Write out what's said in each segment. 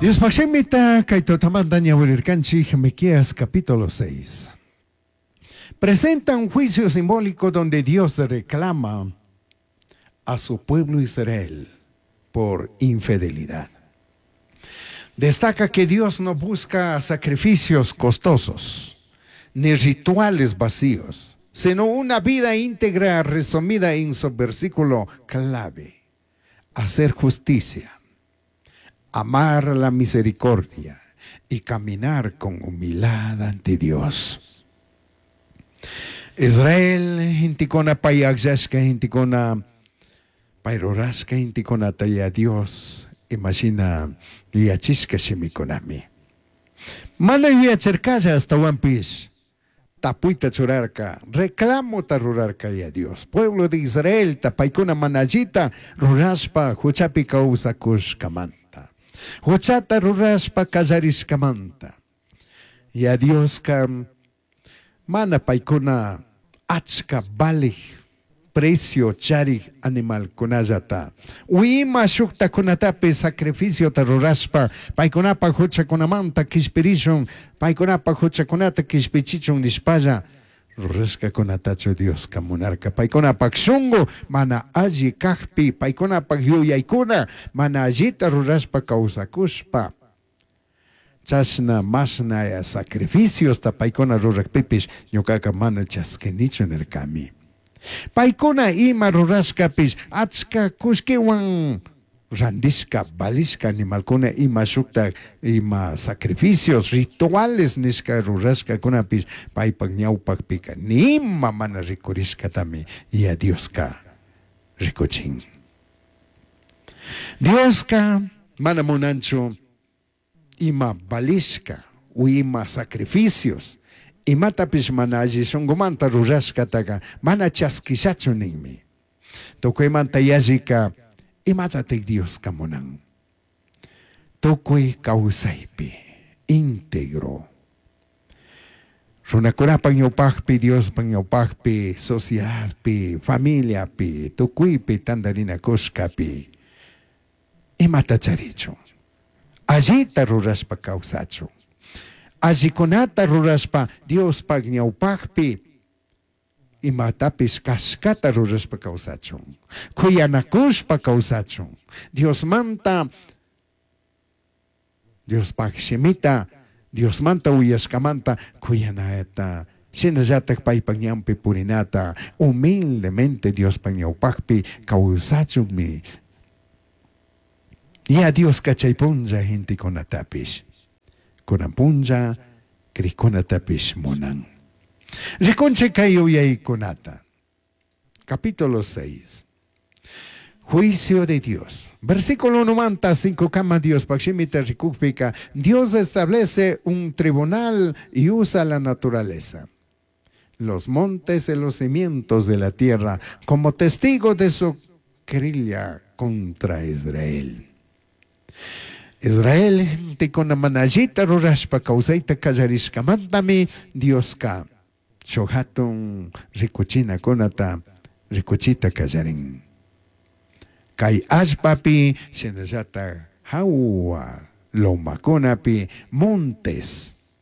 Diospaj shimita kay tutamanta ñawirirkanchik Miqueas capítulo 6. Presenta un juicio simbólico donde Dios reclama a su pueblo Israel por infidelidad. Destaca que Dios no busca sacrificios costosos ni rituales vacíos, sino una vida íntegra resumida en su versículo clave: hacer justicia, amar la misericordia y caminar con humildad ante Dios. Israel gentecuna pai agllashca gentecuna, pai rurashca gentecunata ya Dios imashina yuyachishca shimicunami. Mana yuyachircalla, ashtahuanpish tapuita churarca, reclamota rurarca ya Dios. Pueblo de Israelta paicuna mana allita rurashpa juchapi causacushcamanta. Juchata rurashpa callarishcamanta. Ya Diosca mana paicuna achca valij precio charij animalcunallata o ima shujtacunatapish sacrificiota rurashpa paicunapaj juchacunamanta quishpirishun, paicunapaj juchacunata quishpichichun nishpalla rurashcacunatachu Diosca munarca. Paicunapaj shungu mana alli cajpi, paicunapaj yuyaicuna mana allita rurashpa causacushpa, chashna mashna sacrificiosta paicuna rurajpipish ñucaca mana chasquinichu nircami. Paicuna ima rurashcapish achca cullquihuan randishca, valishca animalcuna ima shujtaj ima sacrificios, rituales nishca rurashcacunapish paipaj ñaupajpica nima mana ricurishcatami ya Diosca ricuchin. Diosca mana munanchu ima valishca o ima sacrificios, imatapish mana alli shungumanta rurashcataca mana chasquishachu ninmi. Tucuimanta yallica imatataj Diosca munan? Tucui causaipi íntegro. Runacunapaj ñaupajpi, Diospaj ñaupajpi, sociedadpi, familiapi, tucuipi tandarinacushcapi imata charichun. Allita rurashpa causachun. Allicunata rurashpa Diospaj ñaupajpi imatapish cashcata rurashpa causachun. Cuyanacushpa causachun. Diosmanta, Diospaj shimita, Diosmanta uyashcamanta cuyanata, shinallataj paipaj ñanpi purinata, humildemente Diospaj ñaupajpi causachunmi. Ya Diosca chay punlla gentecunatapish, cunan punlla crijcunatapish munan. Ricunchik kay yuyaicunata. Capítulo 6. Juicio de Dios. Versículo 1 manta 5 kama Diospaj shimita ricujpica, Dios establece un tribunal y usa la naturaleza, los montes y los cimientos de la tierra, como testigo de su querella contra Israel. Israel gentecuna mana allita rurashpa causaita callarishcamantami Diosca shuj jatun ricuchinacunata ricuchita callarin. Cai allpapi shinallataj jahua lomacunapi, montes.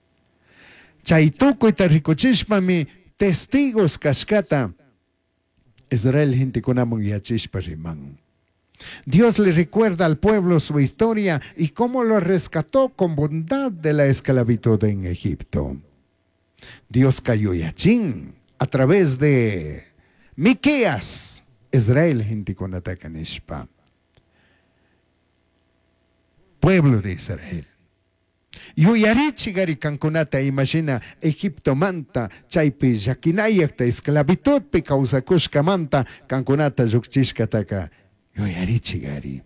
Chai tucuita ricuchishpami testigos cashcata Israel gentecunaman yachishpa riman. Dios le recuerda al pueblo su historia y cómo lo rescató con bondad de la esclavitud en Egipto. Dios yuyachin a través de Miqueas, Israel gentecunataca nishpa. Pueblo de Israel. Yuyarichigari cancunata imashina Egiptomanta chaipi llaquinayajta esclavitudpi causacushcamanta cancunata llujchishcataca yuyarichigari.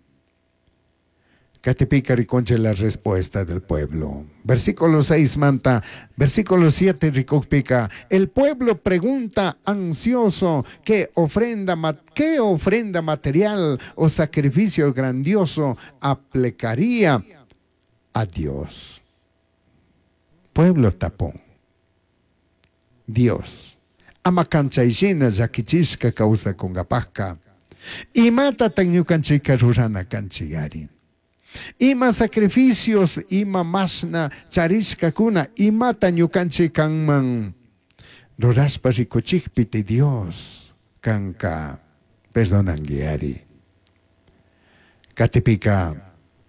Catipika ricunchij la respuesta del pueblo. Versículo 6 manta, versículo 7 ricujpica, el pueblo pregunta ansioso qué ofrenda material o sacrificio grandioso aplicaría a Dios. Pueblo tapun. Dios. Ama can chai shina llaquichishca causacungapajca. Imatataj ñucanchijca rurana canchigari? Ima sacrificios, ima mashna charishcacuna, imata ñucanchij canman rurashpa ricuchijpiti Dios canca perdonanguiari. Catipika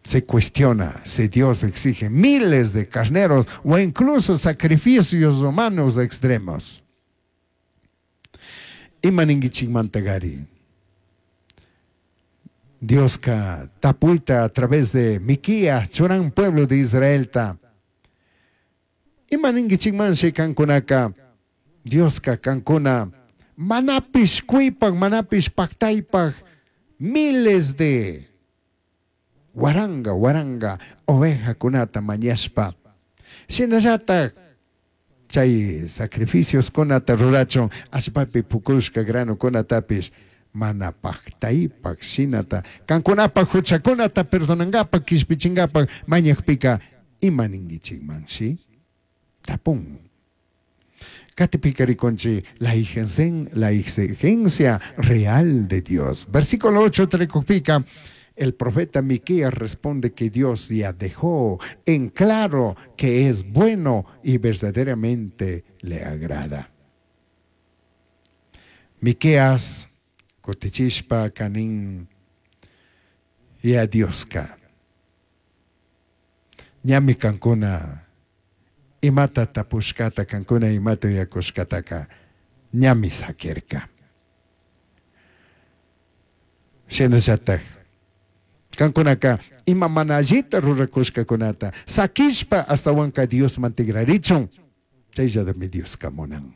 se cuestiona si Dios exige miles de carneros o incluso sacrificios humanos extremos. Ima ninguichijmantagari? Dioska tapuita a través de Miquías churan pueblo de Israelta. Ima ninguichijmanshi cancunaca? Dioska cancuna manapish cuipaj, manapish pactaipaj miles de waranga, waranga ovejacunata mañashpa. Shinallataj chay sacrificioskunata rurachun allpapi pukushka granokunatapish mana pactaipaj shinata kankunapaj huchakunata perdonangapaj kishpichingapaj mañajpika ima ninguichijmanshi? Tapun. Katipika rikunchik la exigencia real de Dios. Versículo 8 rikukpika, el profeta Miqueas responde que Dios ya dejó en claro que es bueno y verdaderamente le agrada. Miqueas kutichishpa kanin ya Dioska. Ñami kankuna imata tapushkata, kankuna imata uyakushkataka ñami sakirka. Shinallataj kankunaka ima mana allita rurakushkakunata sakishpa astawanka Diosman tigrarichun, chayllatami Dioska munan.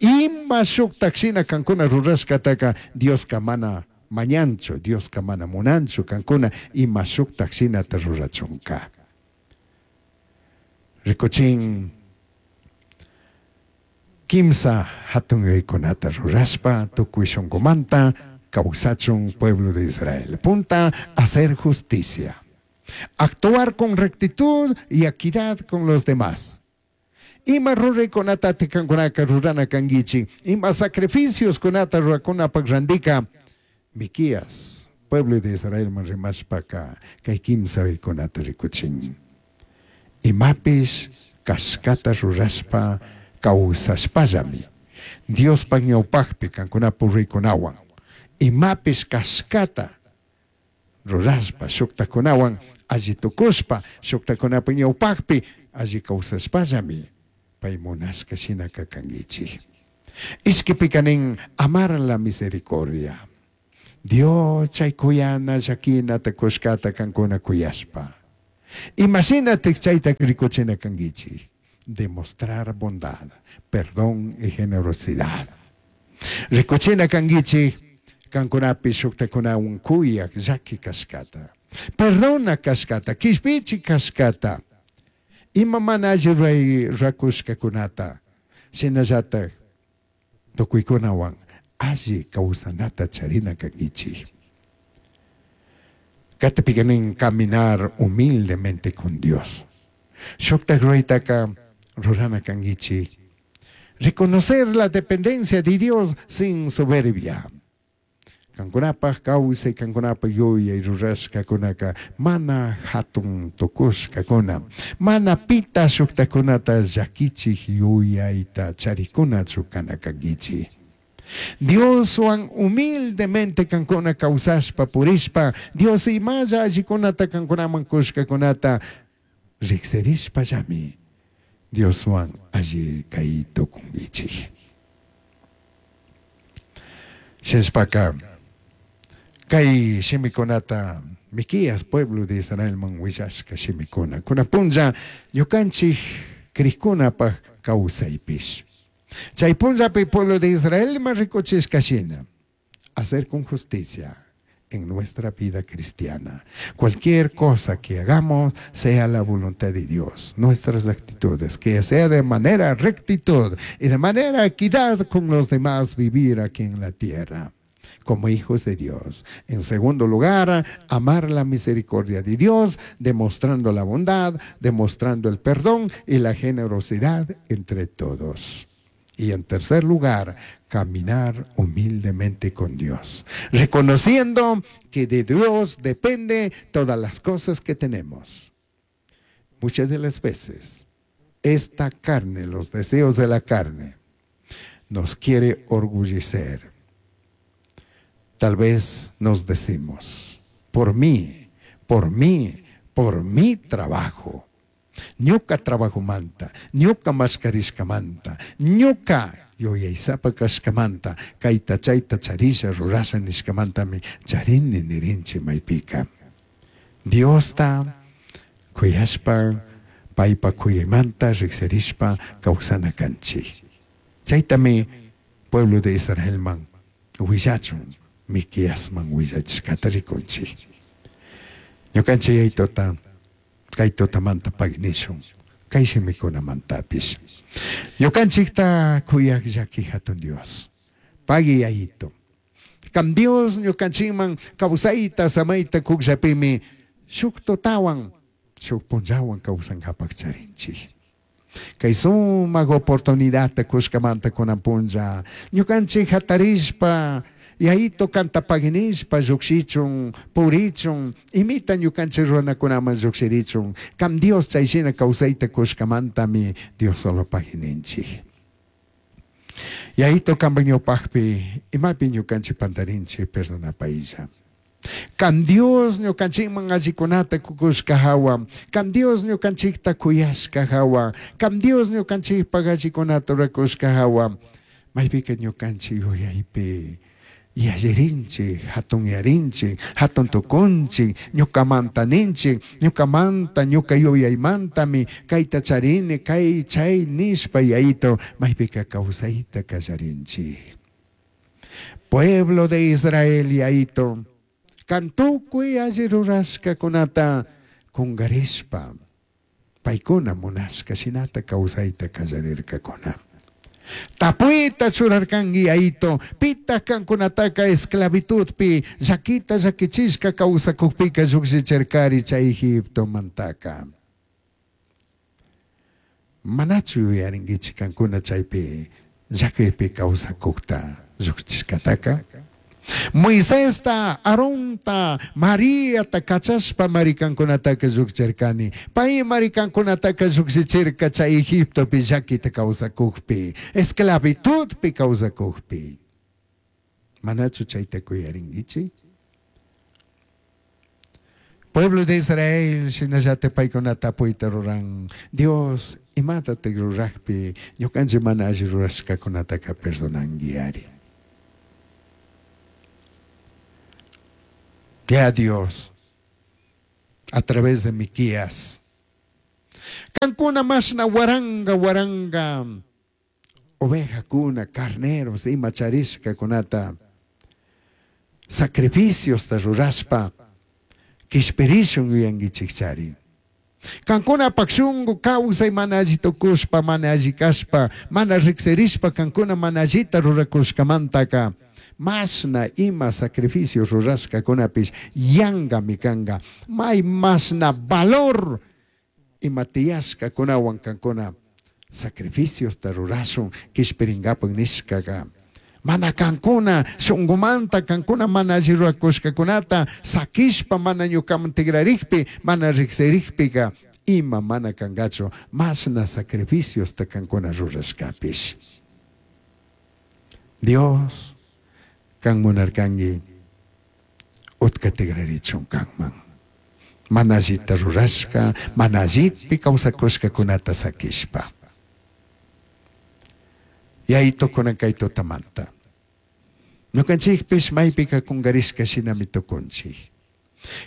Ima shuktak shina kankuna rurashkataka Dioska mana mañanchu, Dioska mana munanchu kankuna ima shuktak shinata rurachunka. Rikuchin kimsa hatun yuyaykunata rurashpa tukuy shunkumanta kawsachun pueblo de Israel. Punta, hacer justicia. Actuar con rectitud y equidad con los demás. Ima ruraykunata kankunaka rurana kanguichik, ima sacrificios kunata rurakunapak randika, Miquías, pueblo de Israel man rimashpaka, kay kimsa yuyaykunata rikuchin. Imapish kashkata rurashpa kawsashpallami, Diospak ñawpakpi kankunapak ruraykunawan, imapish kashkata rurashpa shuktakunawan alli tukushpa shuktakunapak ñawpakpi alli kawsashpallami pay munashka shinaka kanguichik. Ishkipika nin amar la misericordia. Dios chay kuyana llakinata kushkata kankuna kuyashpa. Imashinatik chayta rikuchina kanguichik. Demostrar bondad, perdón y generosidad. Rikuchina kanguichik kankunapi shuktakunawan kuyak llaki kashkata. Perdona kashkata, kishpichi kashkata. Ima mana alli ruray rakushkakunata. Shinallatak tukuykunawan alli kawsanata charina kanguichik. Katipika nin caminar humildemente con Dios. Shuktak ruraytaka rurana kanguichik. Reconocer la dependencia de Dios sin soberbia. Kankunapaj kawsay, kankunapaj yuyay rurashkakunaka mana hatun tukushkakuna, mana pita shuktakunata llakichik yuyayta charikunachu kana kankichik. Dioswan humildemente kankuna kawsashpa purishpa, Dios imalla allikunata kankunaman kushkakunata riksirishpallami Dioswan alli kay tukunkichik. Shinashpaka kay shimikunata Miquías pueblo de Israelman willashka shimikuna. Kuna punlla ñukanchik krikkunapaj kawsaypish. Chay punllapi pueblo de Israelman rikuchishka shina, hacer con justicia en nuestra vida cristiana. Cualquier cosa que hagamos sea la voluntad de Dios. Nuestras actitudes, que sea de manera rectitud y de manera equidad con los demás vivir aquí en la tierra como hijos de Dios. En segundo lugar, amar la misericordia de Dios, demostrando la bondad, demostrando el perdón y la generosidad entre todos. Y en tercer lugar, caminar humildemente con Dios, reconociendo que de Dios depende todas las cosas que tenemos. Muchas de las veces, esta carne, los deseos de la carne, nos quiere orgullecer. Tal vez nos decimos, por mí, por mí, por mi trabajo. Ñuca trabajomanta, ñuca mashkarishkamanta, ñuca yuyaysapa kashkamanta, kayta chayta charisha rurasha nishkamantami charini nirinchi maypika. Diosta kuyashpa, paypa kuyaymanta riksirishpa kawsana kanchik. Chaytami pueblo de Israelman willachun, Miqueasman willachishkata rikunchik. Ñukanchik Yayituta kay tutamanta pagui nishun, kay shimikunamantapish. Ñukanchikta kuyaj llaki jatun Dios, pagui Yayito. Kan Dios ñukanchikman kawsayta samayta kukllapimi shuk tutawan, shuk punllawan kawsankapak charinchik. Kay sumak oportunidadta kushkamanta kunan punlla ñukanchik jatarishpa Yayito kanta pagui nishpa llukshichun, purichun, imita ñukanchik runakunaman llukshirichun. Kan Dios chay shina kawsayta kushkamantami Dios solo pagui ninchik. Yayito kanpak ñawpakpi imapi ñukanchik pantarinchik perdonapaylla. Kan Dios ñukanchikman allikunata kukushka hawa, kan Dios ñukanchikta kuyashka hawa, kan Dios ñukanchikpak allikunata rurakushka hawa, maypika ñukanchik yuyaypi yallirinchik, hatunyarinchik, hatun tukunchik, ñukamanta ninchik, ñukamanta, ñuka yuyaymantami kayta charini, kay chay nishpa Yayito maypika kawsayta kallarinchik. Pueblo de Israel Yayito, kan tukuy alli rurashkakunata kungarishpa, paykuna munashka shinata kawsayta kallarirkakuna. Tapuyta churarkanki Yayito, pitaq kankunataka esclavitudpi llakita llakichishka kawsakukpika llukshichirkari chay Egiptomantaka. Manachu yuyarinkichik kankuna chaypi llakiypi kawsakukta llukshichishkataka? Moisesta, Aaronta, Mariata kachashpa marikankunataka llukshichirkani. Pay marikankunataka llukshichirka chay Egiptopi llakita kawsakukpi, esclavitudpi kawsakukpi. Manachu chayta kuyarinkichik? Pueblo de Israel shinallata paykunata tapuyta ruran. Dios imatatik rurakpi ñukanchik mana alli rurashkakunataka perdonanki ari. Ya Dios, a través de Miqueas, kankuna mashna waranga waranga ovejakuna, carneros, ima charishkakunata sacrificiosta rurashpa kishpirishun yuyankichikchari. Kankunapak shunku kawsay mana alli tukushpa, mana alli kashpa, mana riksirishpa kankuna mana allita rurakushkamantaka mashna ima sacrificio rurashkakunapish yankami kanka. May mashna valor ima tiyashkakunawan kankuna sacrificiosta rurashun kishpirinkapak nishkaka. Mana kankuna shunkumanta kankuna mana alli rurakushkakunata sakishpa mana ñukaman tigrarikpi, mana riksirikpika ima mana kankachu mashna sacrificiosta kankuna rurashkapish. Dios kan munarkanki utka tigrarichun kanman. Mana allita rurashka, mana allitpi kawsakushkakunata sakishpa. Yayito kunan kay tutamanta. Ñukanchikpish maypika kungarishka shinami tukunchik.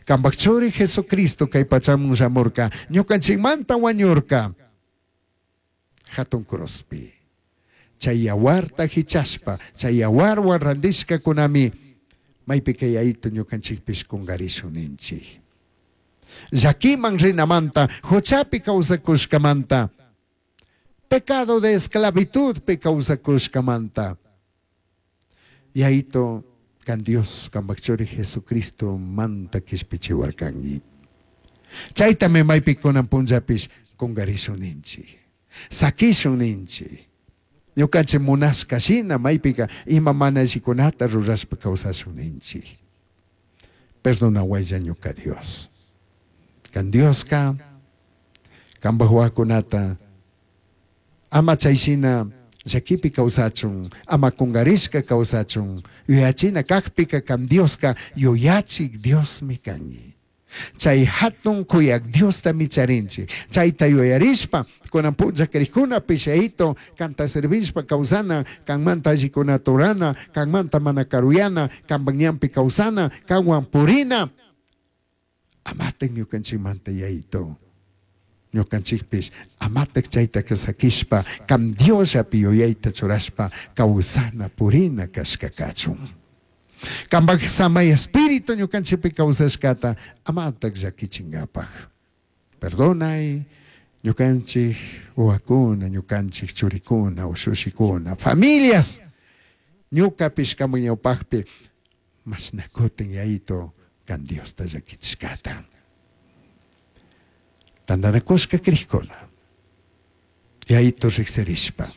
Kanpak churi Jesucristo kay pachaman shamurka, ñukanchikmanta wañurka. Hatun cruzpi. Chay yawarta hichashpa, chay yawarwan randishkakunami maypika Yayito ñukanchikpish kungarishun ninchik. Llakiman rinamanta, huchapi kawsakushkamanta, pecado de esclavitud kawsakushkamanta. Yayito kan Dios kanpak churi Jesucristo manta kishpichiwarkanki. Chaytami maypi kunan punllapish kungarishun ninchik. Sakishun ninchik. Ñucanchij munashca shina maipica ima mana allicunata rurashpa causashun ninchij. Perdonahuaylla ñuca Dios. Can Diosca cambaj huahuacunata ama chai shina llaquipi causachun, ama cungarishca causachun, yuyachina cajpica can Diosca yuyachij Diosmi cangui. Chai jatun cuyac Diostami charinchij. Chaita yuyarishpa, cunan punlla crijcunapish Yayato canta servishpa causana, canmanta allicunata rurana, canmanta mana caruyana, cambaj ñanpi causana, canhuan purina. Amataj ñucanchijmanta Yayato, ñucanchijpish amataj chaitaca saquishpa, can Diosllapi yuyaita churashpa causana, purina cashca cachun. Cambaj Samai Espíritu ñucanchijpi causashcata amataj llaquichingapaj. Perdonai ñucanchij huahuacuna, ñucanchij churicuna, ushushicuna, familias, ñucapish cambaj ñaupajpi mashna cutin Yayato can Diosta llaquichishcata. Tandanacushca crijcuna, Yayato rijsirishpa,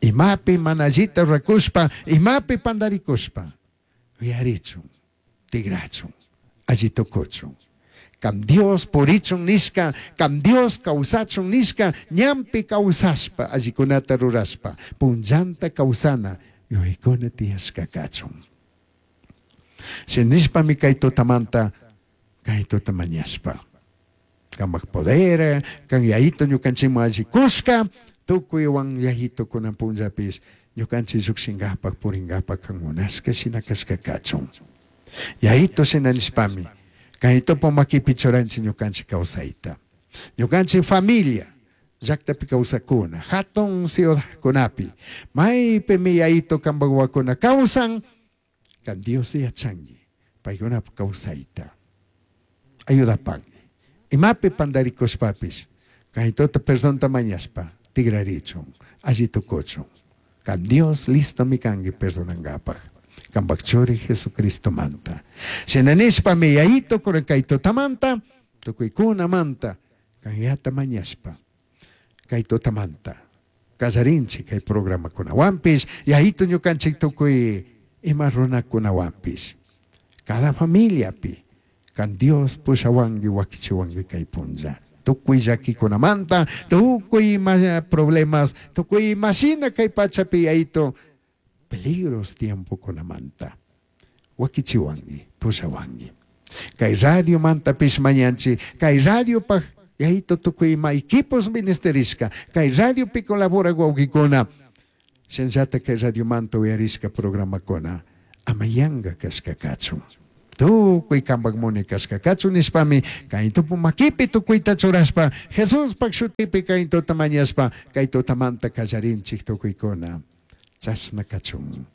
imapi mana allita ruracushpa, imapi pandaricushpa, yuyarichun, tigrachun, alli tucuchun. Can Dios purichun nishca, can Dios causachun nishca, ñanpi causashpa, allicunata rurashpa, punllanta causana yuyaicuna tiyashca cachun. Shinishpami cai tutamanta, cai tuta mañashpa, cambaj poder, can Yayato ñucanchijman alli cushca, tucuihuan Yayato cunan punllapish ñucanchij llujshingapaj, puringapaj can munashca shina cashca cachun. Yayato shina nishpami, Yayaitopa maquipi churanchij ñucanchij causaita. Ñucanchij familia, llajtapi causacuna, jatun ciudadcunapi, maipimi Yayato cambaj huahuacuna causan, can Dios yachangui, paicunapaj causaita. Ayudapangui. Imapi pandaricushpapish, Yayaitota perdonta mañashpa, tigrarichun, alli tucuchun. Can Dios listomi cangui perdonangapaj. Cambaj Churi Jesucristomanta. Shina nishpami Yayaito cunan cai tutamanta, tucuicunamanta, canyata mañashpa, cai tutamanta callarinchij cai programacunahuanpish, Yayaito ñucanchij tucui ima runacunahuanpish. Cada familiapi, can Dios pushahuangui, huaquichihuangui cai punlla. Tucui llaquicunamanta, tucui ima problemas, tucui ima shina cai pachapi Yayaito peligros tiempocunamanta huaquichihuangui, pushahuangui. Cai radiomantapish mañanchij, cai radiopaj Yayaito tucui ima equipos ministerishca, cai radiopi colaboraj huauquicuna, shinallata cai radiomanta uyarishca programacuna ama yanga cashca cachun. Tucui cambaj munai cashca cachun nishpami, cai tupu maquipi tucuita churashpa, Jesuspaj shutipi cai tuta mañashpa, cai tutamanta callarinchij tucuicuna. Chashna cachun.